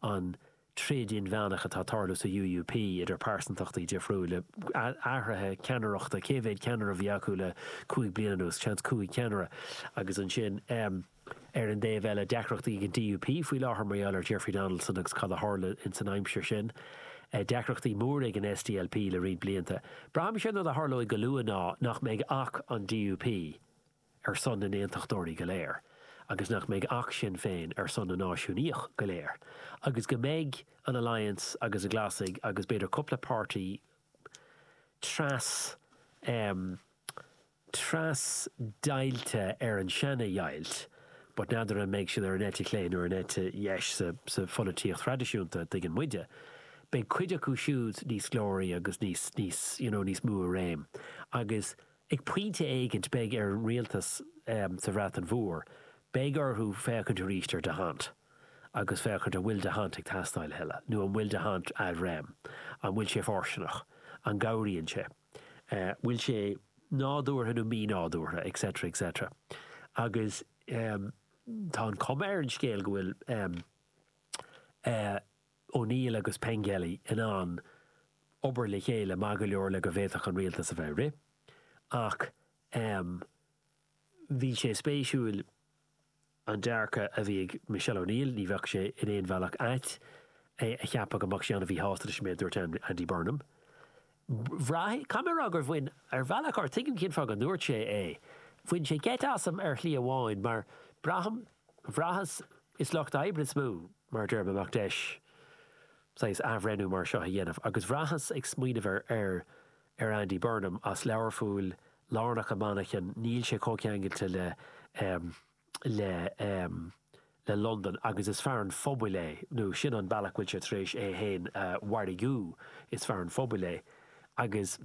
an troid inmheánach atá ag tarlú sa UUP idir pearsantachtaí difriúla, athruithe ceannaireachta, cé mhéad ceannaire a bhí acu le 5 bliana anuas, seans 5 cheannaire, agus ansin ar an dtaobh eile deacrachtaí ag an DUP faoi láthair mar gheall ar Jeffrey Donaldson agus cad a tharla ins an aimsir sin. Deacrachtaí móra ag an SDLP le roinnt blianta. Braithim sé an rud a tharlóidh go luath ná nach mbeidh ach an DUP ar son na n-aontachtóirí go léir agus nach mbeidh ach Sinn Féin ar son na náisiúnaíoch go léir agus go mbeidh an Alliance agus na Glasaigh agus b'fhéidir cúpla páirtí tras tras-deighilte ar an seana-dheighilt but n'fheadar an mbeidh siad ar an eite chlé nó ar an eite dheis sa sa pholaitíocht thraidisiúnta, tuigeann muide. Beidh cuid acu siúd níos glóraí agus níos níos you know níos mó i réim agus Ag pointe éigint beidh ar an rialtas sa Bhreatain Mhór, beidh orthu féachaint arís ar d'Hondt agus féachaint an bhfuil d'Hondt ag teastáil a thuilleadh nó an bhfuil d'Hondt ad rem, an bhfuil sé fóirsteanach, an gcabhraíonn sé, bhfuil sé nádúrtha nó mí-nádúrtha, etc. etc. Agus tá an chuma ar an scéal go bhfuil O'Neill agus Pengelly in ann obair le chéile maith go leor le go bhféadfadh an rialtas a bheith ag rith. Ach bhí sé spéisiúil an dearcadh a bhí ag Michelle O'Neill, ní bheadh sé in aon bhealach ait é a cheapadh go mbeadh sí an-mhíshásta leis an méid a dúirt Andy Burnham. Bhraith, caithfidh mé a rá gur bhain, ar bhealach, or tuigim cén fáth go ndúirt sé é, bhain sé geit asam ar shlí amháin mar braithim, bhraitheas, is lucht oibre is mó, mar a deir a mbeadh deis saghas athbhreithniú mar seo a dhéanamh agus bhraitheas ag smaoineamh ar, ar, ar Andy Burnham as Learpholl, lárnach i Manchain, níl sé chomh ceangailte le, le, le Londain agus is fear an phobail é, nó sin an bealach go bhfuil sé tar éis é féin a mhargú, is fear an phobail é agus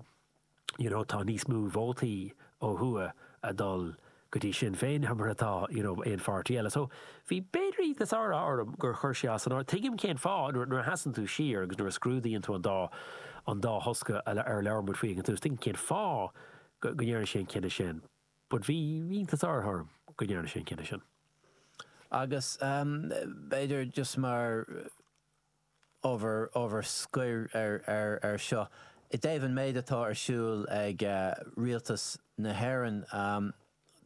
you know tá níos mó vótaí ó thuaidh a dul go dtí Sinn Féin ná mar atá you know aon pháirtí eile. So bhí b'fhéidir iontas orm gur chuir sé as an áireamh. Tuigim cén fáth nuair a sheasann tú siar agus nuair a scrúdaíonn tú an dá an dá thosca ar labhair muid faoi ag an tús, tuigim cén fáth go ndearna sé an cinneadh sin. But bhí iontas orm go ndearna sé an cinneadh sin. Agus b'fhéidir just mar ábhar, ábhar scoir ar, ar, ar seo, i dtaobh an méid atá ar siúl ag rialtas na hÉireann,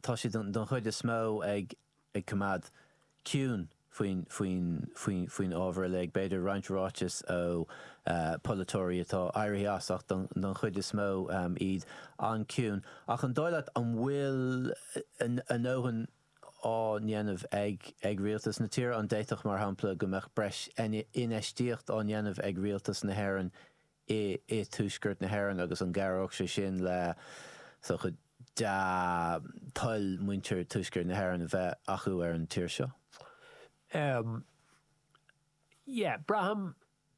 tá siad don chuid is mó ag, ag coimeád ciúin faoin, faoin, faoin, faoin ábhar uilig. B'fhéidir roinnt ráiteas ó pholaiteoirí atá éirithe as ach don, don chuid is mó iad an-chiúin. Ach an dóigh leat an bhfuil a ndóthain á ndéanamh ag, ag rialtas na tíre? An d'fhéadfadh, mar shampla, go mbeadh breis infheistíocht á ndéanamh ag rialtas na hÉireann i dtuaisceart na hÉireann agus an gcabhródh sé sin le so dea-toil muintir tuaisceart na hÉireann a bheith acu ar an tír seo? Em, yeah, braithim,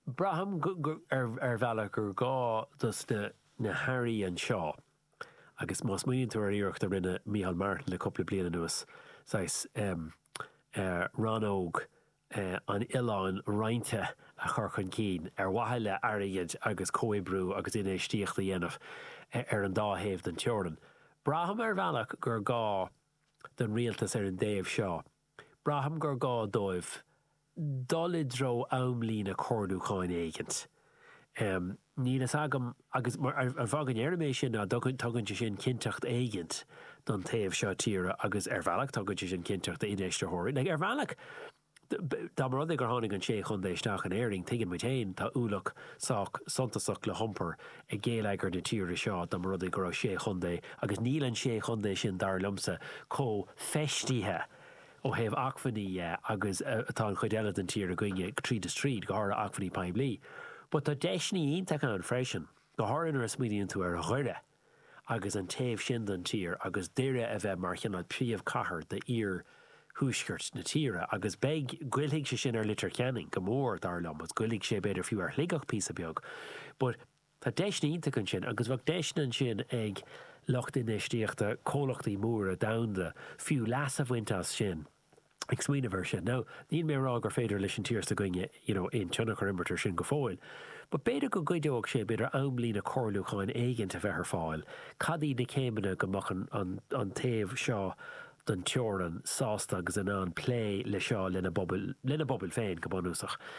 braithim go, go, ar, ar bhealach gur gá dos na, na hairí anseo agus má smaoiníonn tú ar iarracht a rinne Micheál Martin le cúpla bliain anuas, saghas, em, eh, rannóg an oileáin roinnte a chur chun cinn ar mhaithe le airgead agus comhoibriú agus infheistíocht a dhéanamh ar an dá thaobh den teorainn. Braithim ar bhealach gur gá don rialtas ar an dtaobh seo, braithim gur gá dóibh dul i dtreo amlíne comhairliúcháin éigint. Níl fhios agam, agus an fáth go ndeirim é sin ná tugann sé sin cinnteacht éigint don taobh seo tíre agus ar bhealach tugann sé sin cinnteacht d'infheistitheoirí. Like, ar bhealach, dá mba rud é gur tháinig an sé chontae isteach in Éirinn, tuigeann muid féin, tá ualach sách suntasach le hiompar ag géilleagar na tíre seo dá mba rud é go raibh sé chontae agus níl an sé chontae sin, dar liomsa, chomh feistithe ó thaobh acmhainní dhe agus atá an chuid eile den tír againne tríd is tríd, go háirithe acmhainní poiblí. But tá deiseanna iontacha ann freisin, go háirithe nuair a smaoiníonn tú ar Dhoire agus an taobh sin den tír agus Doire a bheith mar chineál príomhchathair d'iarthuaisceart na tíre agus beidh, goillfidh sé sin ar Leitir Ceanainn go mór, dar liom, agus goillfidh sé b'fhéidir fiú ar Shligeach píosa beag. But Tá deiseanna iontacha ansin agus bheadh deiseanna ansin ag lucht infheistíochta, comhlachtaí móra domhanda fiú leas a bhaint as sin, ag smaoineamh air sin. Now, níl mé ag rá gur féidir leis an tír s'againne you know aon tionchar a imirt air sin go fóill, but b'fhéidir go gcuideodh sé, b'fhéidir amlíne comhairliúcháin éigint a bheith ar fáil, cad iad na céimeanna go mbeadh an, an, an taobh seo den teorainn sásta agus in ann plé le seo lena bpobail, lena bpobail féin go bunúsach.